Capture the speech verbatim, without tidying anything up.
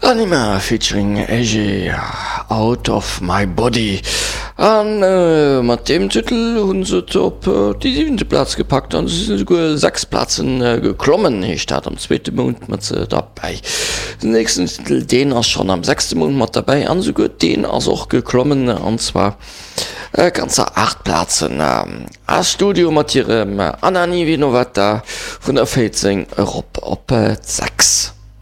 Anyma featuring Eje, Out of my Body. An mat deem Titel hu se et op déi siwente Plaz gepackt an se sinn esouguer sechs Plazen geklommen, heescht dat am zweete Mount mat derbäi. Den nächsten Titel, deen ass schonn am sechste Mount mat derbäi an esouguer deen ass och geklommen an zwar ganzer aacht Plazen. A-Studio mat hirem Anna Ni Vinovata vun der véierzéng erop op d'sechs.